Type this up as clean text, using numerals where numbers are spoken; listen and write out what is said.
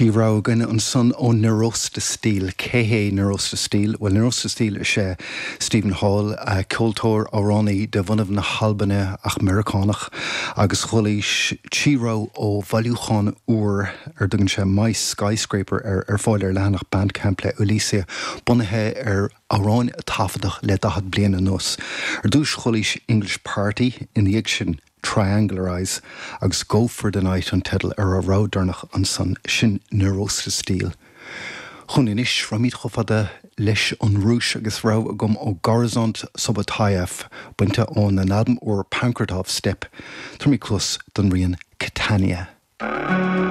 Rogha againn ansan ó Nirosta Steel. Cé hé Nirosta Steel? Bhuel, Nirosta Steel is ea Steven Hall, ceoltóir, amhránaí de bhunadh na hAlbaine ach Meiriceánach, agus chualaís trí rogha ó bhailiúchán úr ar dtugann sé My Skyscraper air, ar fáil ar leathanach Bandcamp le Elysia, bunaithe ar amhráin a taifeadadh le 40 bliain anuas. Ar dtús chualaís English Party, ina dhiaidh sin, Triangularize agus Go For The Night an teideal ar an rogha deireanach ansan, sin Nirosta Steel. Chugainn anois, raghaimid chomh fada leis an Rúis agus rogha agam ó Gorizont Subotaev, bainte óna n-albam úr Pankratov Steppe. Tabharfaimid cluas don rian Catania.